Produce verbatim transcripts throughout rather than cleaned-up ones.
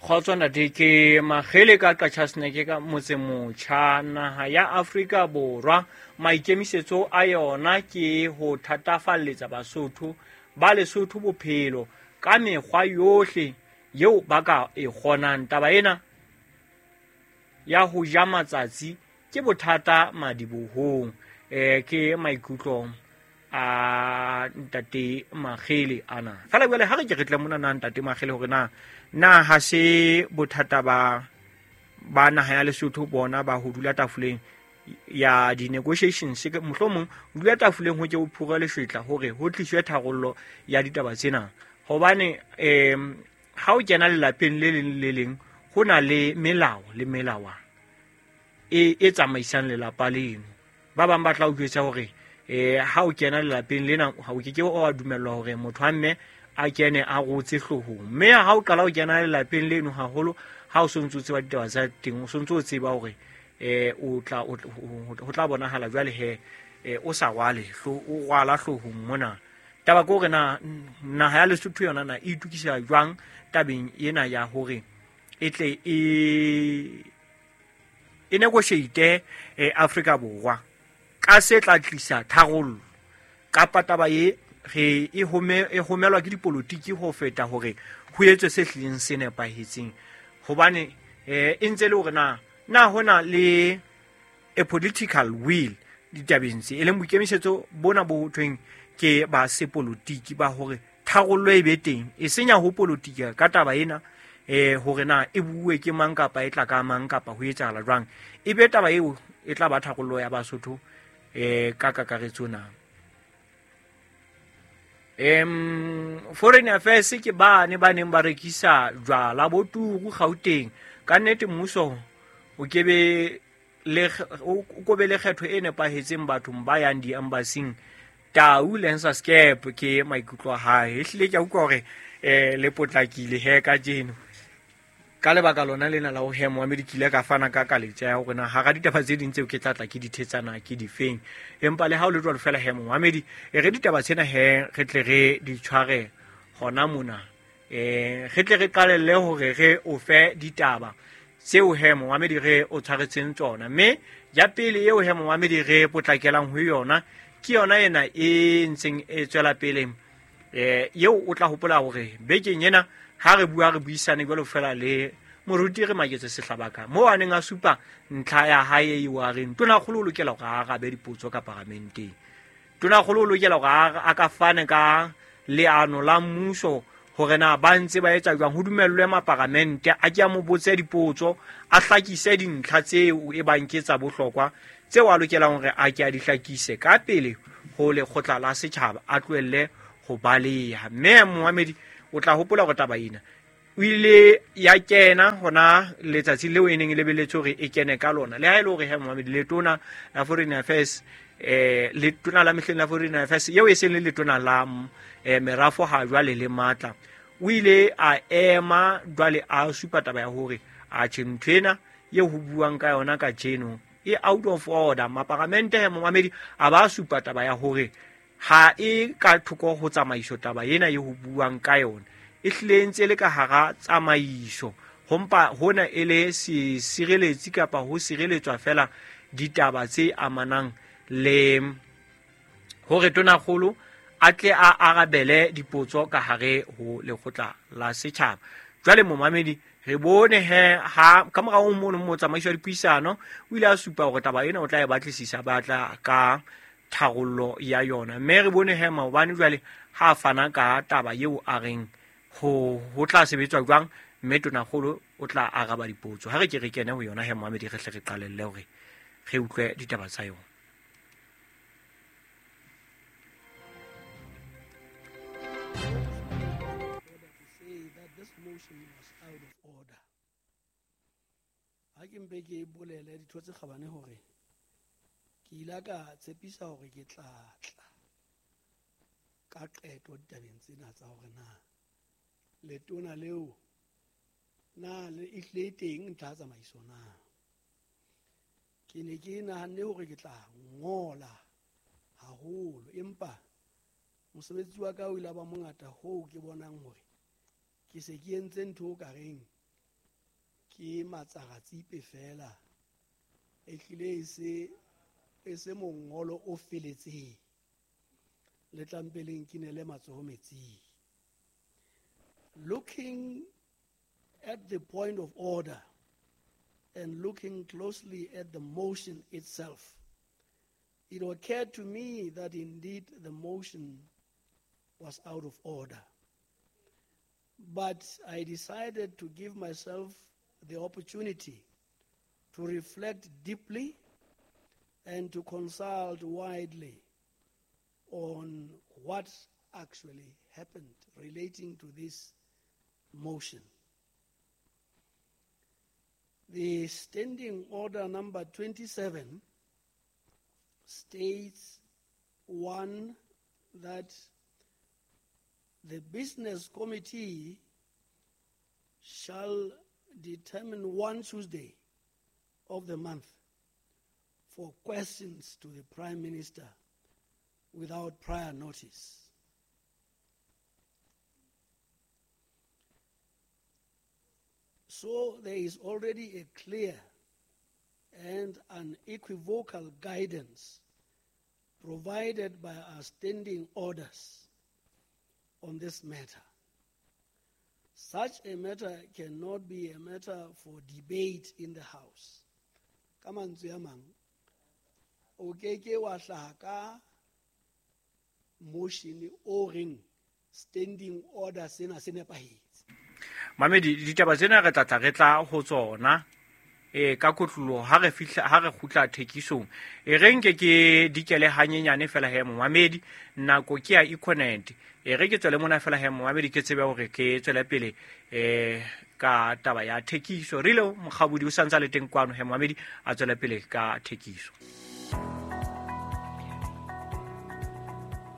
Kgotso ntate, ke Makgele ka Qachasneke ka Motsemotjha. Naha ya Afrika Borwa maikemisetso a yona ke ho thatafalletsa Basotho ba Lesotho bophelo ka mekgwa yohle eo ba ka e kgonang. Taba ena ya ho ja matsatsi ke bothata madibohong. Eh ke maikutlo a ntate Makgele ana. Fela jwale ha re ke re tle mona na ntate Makgele hore na na ha se bothata ba ba naha ya Lesotho bona ba ho dula tafoleng ya di-negotiations, mohlomong ho dula tafoleng ho ke o phura leshwetla hore ho tliswe tharollo ya ditaba tsena. Hobane um ha o kena lelapeng le leng le leng ho na le melao le melawana e e tsamaisang lelapa leno. Ba bang ba tla o jwetsa hore eh ha o kena lelapeng lena ha o ke ke wa dumellwa hore motho wa mme a kene a rotse hloohong. Mme ha o qala o kena lelapeng leno haholo, ha o sontso o tseba ditaba tsa teng, o sontso o tseba hore eh o tla ho tla bonahala jwale he o sa rwale o rwala hloohong mona. Taba ke hore na naha ya Lesotho yona na e itukisa jwang tabeng ena ya hore e tle e e negotiate Afrika Borwa ka se tla tlisa tharollo, kapa taba e re e home e homelwa ke dipolotiki ho feta hore ho etswe se hlileng se nepahetseng. Hobane eh e ntse le hore na na hona le a political will ditabeng tse, e leng boikemisetso bona bo thweng ke ba sepolotiki ba hore tharollo e be teng, e senya ho politika ka taba ena eh hore na e bue ke mang kapa e tla ka mang kapa ho etsahala jwang, e be taba eo e tla ba tharollo ya Basotho eh ka kakaretso na. Em Foreign Affairs ke ba ne ba neng ba rekisa jwala bo turu Gauteng. Ka nnete mmuso o kebe le o kobe le kgetho e nepahetseng bathong ba yang di-embassy-ing. Tau Lensa Scape ke maikutlo a hae. Ehlile ke a utlwa hore eh le potlakile he kajeno. Ka lebaka lona lena la ho hema wa medikile ka fana ka kaletsa ya hore na hara ditaba tse ding tseo ke tla tla ke di thetsana ke difeng. Empa le ha o le jwalo fela hemo wa medi e re ditaba tsena he re tle re di tshware hona mona. Eh re tle re qalelle hore re o fe ditaba tseo hemo wa medi re o tshwaretseng tsona. Mme ya pele eo hemo wa medi re potlakelang ho yona ke yona ena e ntseng e tswela pele eh eo o tla hopola hore bekeng ena ha re bua re buisane jwalo fela le moruti re Maketse Sehlabaka mo a neng a supa ntlha ya hae eo a reng tonakgolo o lokela hore a arabe dipotso ka paramenteng. Tonakgolo o lokela hore a ka fane ka leano la mmuso hore na ba ntse ba etsa jwang ho dumellwe maparamente a ke a mo botse dipotso, a hlakise dintlha tseo e bang ke tsa bohlokwa tseo a lokelang hore a ke a di hlakise ka pele ho lekgotla la setjhaba, a tlohelle ho baleha. Mme Mohamedi o tla hopola hore taba ena o ile ya kena hona letsatsi leo e neng e lebelletswe hore e kene ka lona. Le ha e le hore he Mohamedi letona la Foreign Affairs eh letona la mehleng la Foreign Affairs eo e seng le letona la eh, merafo ha jwale le matla, o ile a ema jwale a supa taba ya hore a tjhe ntho ena eo ho buang ka yona kajeno e out of order. Maparamente he Mohamedi a ba supa taba ya hore ha e ka thoko ho tsamaiso taba ena e ho buang ka yona e hlile ntse le ka hara tsamaiso, ho mpa hona e le se sireletsi kapa ho sireletswa fela ditaba tse amanang le hore tonakgolo a tle a arabele dipotso ka hare ho lekgotla la setjhaba. Jwale momamedi re bone he ha ka morao mono motsamaiso wa dipuisano o ile a supa hore taba ena o tla e batlisisa ba tla ka tharollo ya yona. Mme re bone he maobane jwale ha fana ka taba eo a reng ho ho tla sebetswa jwang, mme tonakgolo o tla araba dipotso. Ha re ke re kene ho yona he momamedi re hle re qalelle hore re utlwe ditaba tsa yona. Ha ke mpe ke bolele ditho tse kgabane hore ke ile ka tshepisa hore ke tla tla ka qeto ditabeng tsena tsa hore na letona leo na le ehlile teng ntlha ya tsamaiso na. Ke ne ke nahanne hore ke tla ngola haholo, empa mosebetsi wa ka o ile ba mongata hoo ke bonang hore ke se ke entse ntho o ka reng Ke matsaratsipe fela e hlile e se e se mongolo o feletseng le tlampeleng ke ne le matsoho metsing. Looking at the point of order and looking closely at the motion itself, it occurred to me that indeed the motion was out of order. But I decided to give myself the opportunity to reflect deeply and to consult widely on what actually happened relating to this motion. The standing order number twenty-seven states, one, that the business committee shall determine one Tuesday of the month for questions to the Prime Minister without prior notice. So there is already a clear and unequivocal guidance provided by our standing orders on this matter. Such a matter cannot be a matter for debate in the House. Ka mantswe a mang, o ke ke wa hlaha ka motion o reng standing order sena se nepahetse. Mamedi, ditaba tsena re tla tla re tla ho tsona e ka kotloloho ha re fihla ha re kgutla thekisong. E re nke ke dikele hanyenyane fela he momamedi, nako ke ya Econet. E re ke tswele mona fela he momamedi ke tsebe hore ke tswele pele e ka taba ya thekiso. Rile Mokgabudi o santsa le teng kwano he momamedi a tswele pele ka thekiso.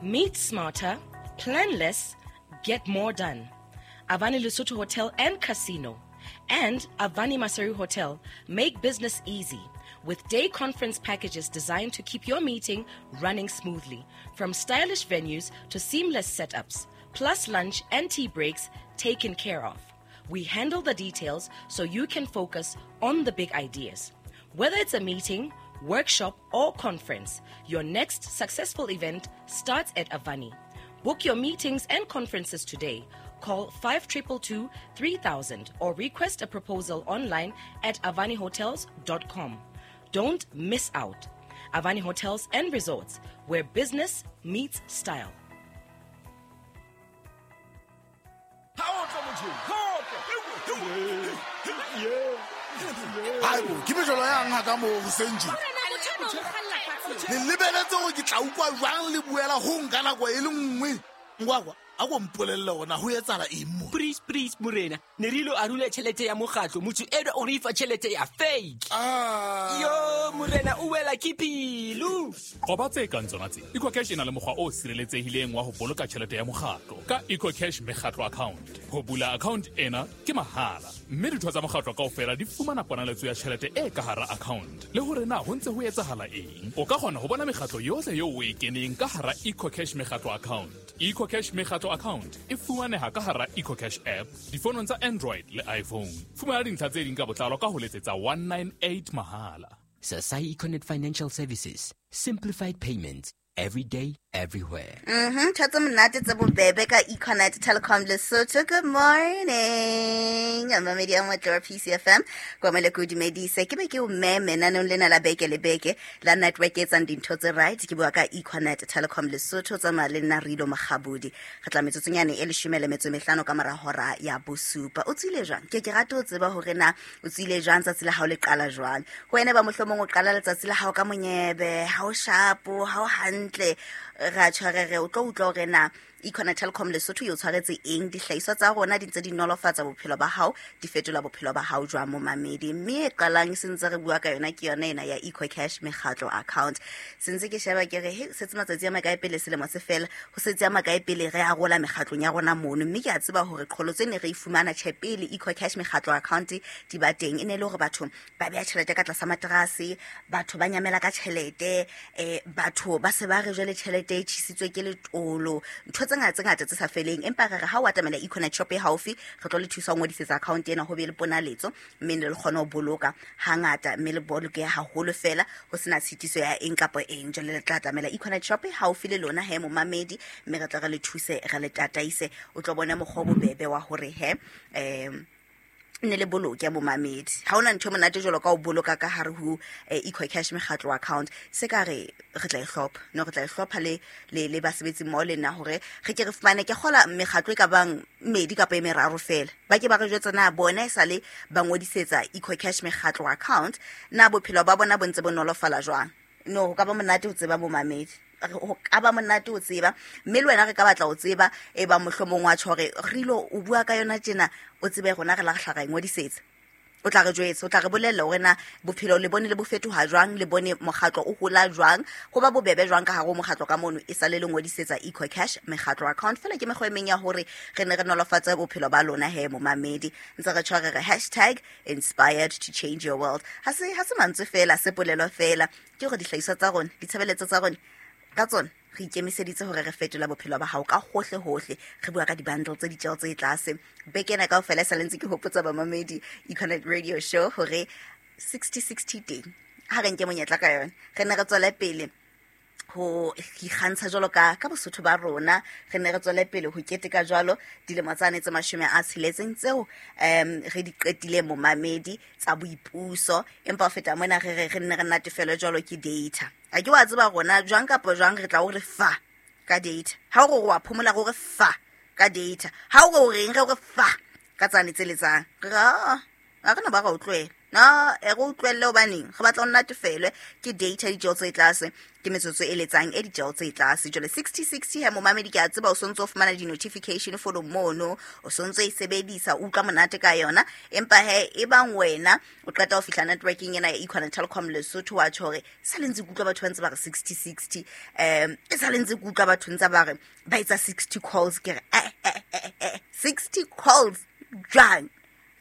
Meet smarter, plan less, get more done. Avani Lesotho Hotel and Casino and Avani Maseru Hotel make business easy with day conference packages designed to keep your meeting running smoothly, from stylish venues to seamless setups, plus lunch and tea breaks taken care of. We handle the details so you can focus on the big ideas. Whether it's a meeting, workshop or conference, your next successful event starts at Avani. Book your meetings and conferences today. Call five two two two, three thousand or request a proposal online at avani hotels dot com. Don't miss out. Avani Hotels and Resorts, where business meets style. Ke mejolo yang ha ka mo hoseng tje. Le lebeletse hore ke tla utlwa jwang le buela ho nka nako e le nngwe. Ngwakwa a go mpolella hore na ho etsahala eng mo. Please please morena, ne re ilo arula tjhelete ya mokgatlo, motho eno o re fa tjhelete ya fake. Ah. Yo morena o wela ke pelo. Qoba tse kang tsona tse. EcoCash e na le mokgwa o sireletsehileng wa ho boloka tjhelete ya mokgatlo ka EcoCash mekgatlo account. Ho bula account ena ke mahala, mme ditho tsa mokgatlo kaofela di fumana ponaletso ya tjhelete e ka hara account. Le hore na ho ntse ho etsahala eng, o ka kgona ho bona mekgatlo yohle eo o e keneng ka hara EcoCash mekgatlo account. EcoCash mekgatlo account e fumaneha ka hara EcoCash app difonong tsa Android le iPhone. Fumana dintlha tse ding ka botlalo ka ho letsetsa one nine eight mahala. Sasai Econet Financial Services, simplified payments every day, everywhere. Mm-hmm. Thato monate tse bobebe ka Econet Telecom Lesotho. Good morning. Mamedi a motle wa P C F M. Kwa mele ko dumedise. Ke be ke o meme naneong lena la beke le beke la network e etsang dintho tse right. Ke bua ka Econet Telecom Lesotho. Tsamaya le nna Rilo Mokgabudi. Re tla metsotsonyane e leshome le metso e mehlano ka mora hora ya bosupa. O tswile jwang? Ke ke rata ho tseba hore na o tswile jwang tsatsi la hao le qala jwang. Ho wena ba mohlomong o qala letsatsi la hao ka monyebe, ha o shapo, ha o hantle. Ra tshwarere o tlo utlwa hore na Econet Telecom Lesotho e o tshwaretse eng, dihlahiswa tsa rona di ntse di nolofatsa bophelo ba hao, di fetola bophelo ba hao jwang momamedi. Mme e qalang se ntse re bua ka yona ke yona ena ya EcoCash mekgatlo account. Se ntse ke sheba ke re he setse matsatsi a makae pele selemo se fela, ho setse a makae pele re arola mekgatlong ya rona mono. Mme ke a tseba hore qholotso e ne re e fumana tjhe pele EcoCash mekgatlo account di ba teng, e ne le hore batho ba beha tjhelete ka tlasa materase, batho ba nyamela ka tjhelete, eh batho ba se ba re jwale tjhelete e tjhisitswe ke letolo, ntho tse ngata tse ngata tse sa feleng, empa re re ha o atamela Econet shop e haufi, re tlo le thusa ho ngodisetsa account ena ho be le ponaletso, mme le kgone ho boloka hangata, mme le boloke haholo fela ho sena tshitiso ya eng kapa eng. Jwale le tla atamela Econet shop e haufi le lona he momamedi, mme re tla re le thuse, re le tataise, o tlo bona mokgwa o bobebe wa hore he um ne le boloke momamedi. Ha hona ntho e monate jwalo ka ho boloka ka hare ho eh, EcoCash mekgatlo account. Se ka re re tla e hlopha, no re tla e hlopha le le le basebetsi mmoho le nna hore re ke re fumane ke kgola mekgatlo e ka bang mmedi kapa e meraro fela. Ba ke ba re jwetsa na bona e sale ba ngodisetsa EcoCash mekgatlo account, na bophelo ba bona bo ntse bo nolofala jwang. No, ho ka ba monate ho tseba momamedi, ho ka ba monate ho tseba, mme le wena re ka batla ho tseba e ba mohlomong wa tjho hore re ilo o bua ka yona tjena, o tsebe rona re la re hla ra e ngodisetsa. O tla re jwetsa, o tla re bolella hore na bophelo le bone le bo fetoha jwang, le bone mokgatlo o hola jwang, ho ba bobebe jwang ka hare ho mokgatlo ka mono e sale le ngodisetsa EcoCash mekgatlo account. Fela ke mekgwa e meng ya hore re ne re nolofatse bophelo ba lona he momamedi. Ntse re tjho re re hashtag inspired to change your world. Ha se ha se mantswe fela, se polelo fela, ke hore dihlahiswa tsa rona, ditshebeletso tsa rona ka tsona re ikemiseditse hore re fetola bophelo ba hao ka hohle hohle. Re bua ka di-bundle tse ditjeho tse tlase. Beke ena kaofela e sa le ntse ke hopotsa bamamedi Econet Radio Show hore sixty sixty teng. Ha re nke monyetla ka yona, re ne re tswele pele ho ikgantsha jwalo ka ka Bosotho ba rona, re ne re tswele pele ho keteka jwalo dilemo tsane tse mashome a tsheletseng tseo um re di qetileng momamedi tsa boipuso. Empa ho feta mona re re re nne re natefelwe jwalo ke data. A ke wa tseba rona jwang kapa jwang re tla o re fa ka data. Ha o re wa phomola re o re fa ka data. Ha o re o reng re o re fa ka tsane tse letsang. Re re a ha re na ba ra o tlohela. No, e re utlwelle hobaneng re batla ho natefelwe ke data ditjeho tse tlase, ke metsotso e letsang e ditjeho tse tlase. Jwale sixty sixty he momamedi, ke a tseba o sontso o fumana di-notification fono mono, o sontso e sebedisa, o utlwa monate ka yona. Empa he e bang wena o qeta ho fihla networking ena ya Econet Telkom Lesotho, wa tjho hore sa le ntse ke utlwa batho ba ntse ba re sixty sixty, um e sa le ntse ke utlwa batho ntse ba re ba etsa sixty calls, ke re eh eh eh eh sixty calls jwang?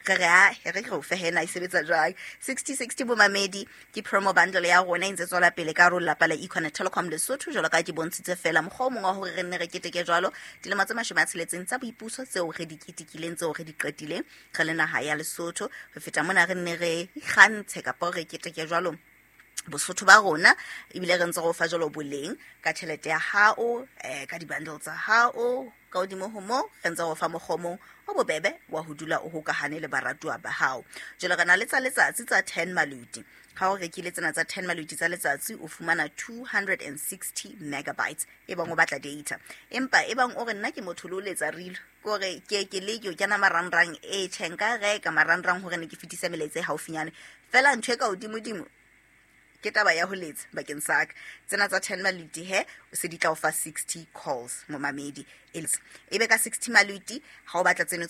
Re re a re re o fe hena e sebetsa jwang. Sixty sixty bomamedi ke promo bundle ya rona e ntse tswela pele ka hare ho lelapa la Econet Telkom Lesotho, jwalo ka ke bontshitse fela mokgwa o mong wa hore re nne re keteke jwalo dilemo tse mashome a tsheletseng tsa boipuso tseo re di ketekileng, tseo re di qetileng re le naha ya Lesotho. Ho feta mona re nne re ikgantshe kapa re keteke jwalo Bosotho ba rona, ebile re ntse re o fa jwalo boleng ka tjhelete ya hao, eh, ka di-bundle tsa hao. Ka hodimo ho moo re ntse re o fa mokgwa o mong o bobebe wa ho dula o hokahane le baratuwa ba hao. Jwale re na le tsa letsatsi tsa ten maluti. Ha o rekile tsena tsa ten maluti tsa letsatsi, o fumana two hundred and sixty megabytes e bang o batla data. Empa e bang o re nna ke motho le o letsa rilo, ke hore ke ke leke ho kena marangrang, e tjhe nka reka marangrang hore ne ke fetise melaetsa e haufinyane. Fela ntho e ka hodimodimo ke taba ya ho letsa bakeng sa ka. Tsena tsa ten maluti he o se di tla o fa sixty calls momamedi. E be ka sixty maluti ha o batla tseno